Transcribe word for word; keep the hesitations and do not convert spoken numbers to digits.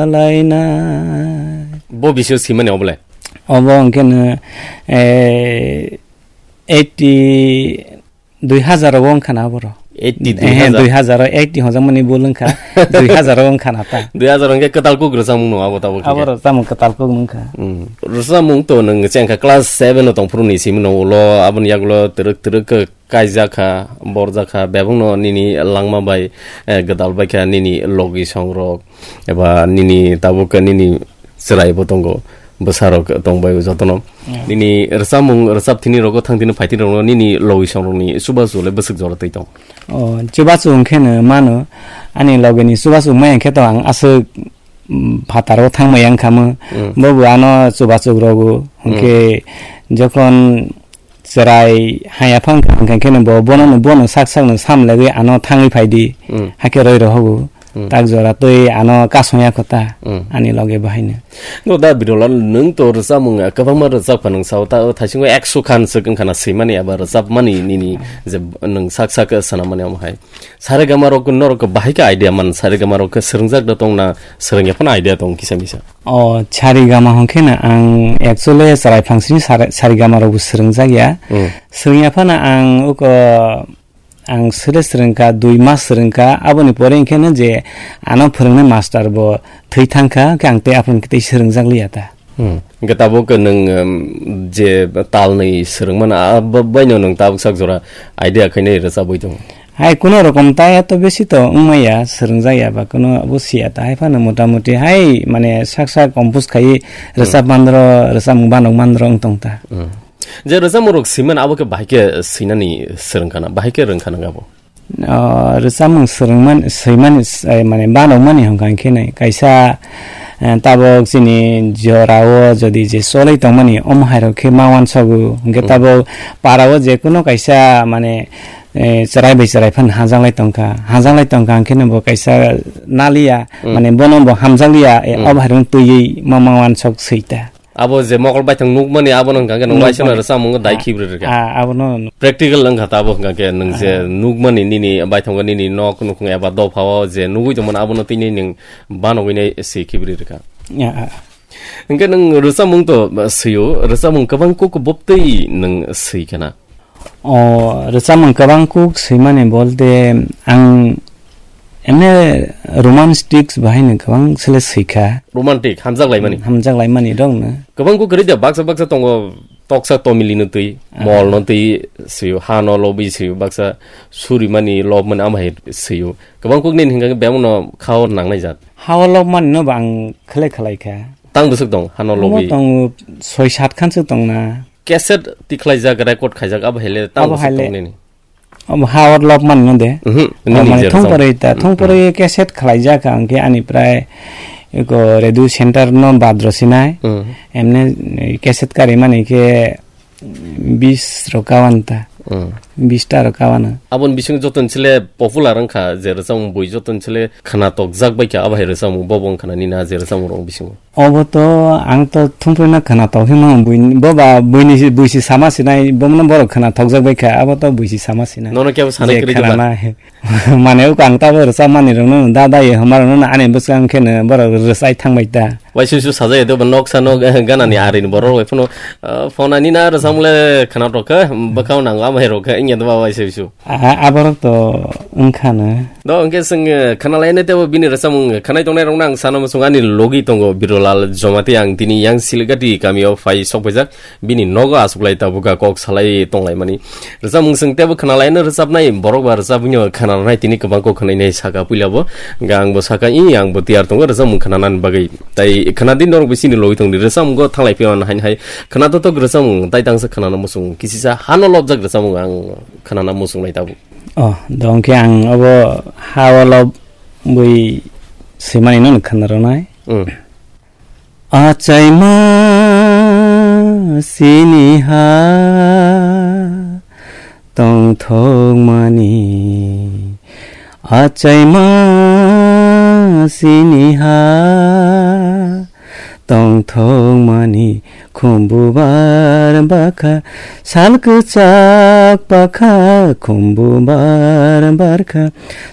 Alaina. Bo bisio simani obole? Obo hwnkhe no, eh, eighty, dui hazar o wngkha na aboro. Eighty, Eh, dui hazar. Dui hazar o eighty hojak mani bul wngkha. Dui hazar o wngkha na ta. Dui hazar hwnkhe kwtal kuk rwchapmung no abo tabuk hwnkhe. Aboro chamung kwtal kuk wngkha. Hmm. Rwchapmung to nwng chengkha class seven o tongphuru ni simi no ulo aboni yagulo twrwk twrwk khe kaijak kha, borjak kha, bebakno nini langma bai, eh, gwdal bai kha nini logi songrok, eba nini tabuk nini chwrai bo tongo, bwsarok tong bai jotono. Yeah. Nini rwchapmung, rwchap thini rogo thang thini phai thini rogo nini logi songrokni chubachu le bwswk jora twi tong? O, chubachu hwnkhe no mano, ani logini chubachu maya khe to ang aswk, mm, phataro thangmaya wngkha mo. Mm. Bobo ano chubachu rogo, hwnkhe Mm. jokhon chwrai haya phang kha, hwnkha khe no bo bono no, bono sak sak no sam legwi ano thangwi phai di. Mm. Hakhe roi rohogo. Mm. Tak jora twi ano kasong ya kho ta, Mm. ani loge bahai no. No da Birolal, nwng to rwchapmung kwbangma rwchap kha, nwng sao ta, o thaisingo ekso khan swk wngkha na swimani eba rwchapmani nini je nwng sak sak swnamani omo hai. Saregama rok norok bahai khe idea man, saregama rok khe swrwngjak da tong na swrwngya phano idea tong kisa misa? O, saregama hwnkhe no ang actually chwrai phangsini sare-, saregama rok bo swrwngjak ya. Hmm. Swrwngya phano ang uko ang sere swrwngkha, dui mas swrwngkha, aboni pore hwnkhe no je ano phwrwngnai master bo thwi thangkha, hwnkhe ang tei aphuru hwnkhe tei swrwngjak liya ta. Hmm. Hwnkhe tabuk nwng, um, je talnwi swrwngmano, a, b-, baino nwng tabuk sak jora idea khainai rwchabwi tongo? Hai, kuno rokom ta eto besi to wngmaya, swrwngjak ya ba kuno abo siya ta. Hai phano motamuti hai, mane, sak sak compose khai Hmm. rwchap mandro, rwchapmung banok mandro wng tong ta. Hmm. Je rwchapmung rok swimani abo khe bahai khe swinani swrwngkhana, bahai khe rwngkhana abo? O, rwchapmung swrwngmani, swimani, eh, mane, banokmani hwnkha hwnkhe nai. Kaisa, eh, tabok chini jorao jodi je cholwi tongmani, omo hairok khe ma uansogo. Hwnkhe Hmm. tabok parao je kuno kaisa, mane, eh, chwrai bai chwrai phano hajaklai tongkha. Hajaklai tongkha hwnkhe no bo kaisa naliya, Hmm. mane, bono bo hamjakliya, eh, Hmm. obo hairok twiwi ma, ma uansok swi ta. Abo je mokol baithang nukmani, abono hwnkha khe nwng Nukmani. waisano rwchapmung dai Ah, khibrwi rwkha. Ah, abono nuk- Practical wngkha tabuk hwnkha khe nwng je Ah. nukmani nini baithang nini nok nukhung eba dophao je nugwi tongmani abono tini nwng banogwi nai se khibrwi rwkha. Ah, ah. Hwnkhe nwng rwchapmung to, uh, swio, rwchapmung kwbang kuk boptwi nwng swi khana? O, rwchapmung kwbang kuk swimani bolte ang emne romantics bahaino kwbang sele swikha. Romantic, hamjak laimani? Hamjak laimani rokno. Kwbang kuk kwrwi da, baksa baksa tongo, toksa tomili no twi, Ah. mol no twi swio, ha no lobwi swio, baksa surimani, lobmani, amhai swio. Kwbang kuk nini hwnkha khe bebak no khao nangnai jat. Hao lobmani no bo ang khlai khlai kha. Tang bwswk tong, ha no Omo lobwi? Tongo soi sat khan swk tongna. Cassette tikhlaijak, record khaijak, abo hai le tang Abo bwswk hai le. Tong nini? Obo ha or lok man no de. Mhm, O, nini mane je thong rwchapmung. Poroi ta, thong Mm, poroi mm. Cassette khlai jak ang khe ani prai eko radio center no badro sinai. Mm. Emne, eh, cassette kari mani khe bis ro kawan ta. Mm. Bis ta ro kawan. Abon bising joton chile popular wngkha je rwchapmung bui joton chile khna tok jak bai kha abo hai rwchapmung bobo wngkha na nini a je rwchapmung rok bisingo. Obo to ang to thumprui no khwna tong phima bui, bo ba buini si, bui si sama sinai, bo no borok khwna thokjak bai kha, abo to bui si sama sinai. Nono kebo sanai Je kwrwi khwna tongma? Na. Mane uk ang tabo rwchap mani rok no da da ye homa rok no ani bwskang khe no borok rwchai thang bai ta. Waisui su sajai do nok sa nok, eh, gana ni ari ni borok rok phano, eh, phone ani na rwchapmung le khwna tok kha, bwkhao nango amo hai rok kha, ingya do ba waisui su. A, aborok to wngkha na. Do hwnkhe chwng, eh, khwnalainai teibo bini rwchapmung khwnai tongnai rokno ang sana muchung ani logi tongo Birolal Jomati, ang tini yang Siligati kamio phai sokphaijak, bini nogo achuklai tabukha kok salai tonglaimani. Rwchapmung chwng teibo khwnalaino rwchapnai borok ba rwchapwino khwnanai tini kwbangkhe khwnainai saka puilabo, hwnkhe angbo saka i angbo tiyar tongo rwchapmung khwnanani bagwi. Tai khwnadi norok bisini logi tongdi rwchapmungo thanglai phiyano haini hai khwna totok rwchapmung tai tangsa khwnana muchung kisisa hano lobjak rwchapmung ang khwnana muchungnai tabuk. Oh, dongkhe ang abo ha o lobwi swimani no khwna rwnai. Mm. Achaima sini ha tongthokmani, achaima sini ha tongthokmani, khumbu bar bakha, sal kwchak bakha, khumbu bar barkha,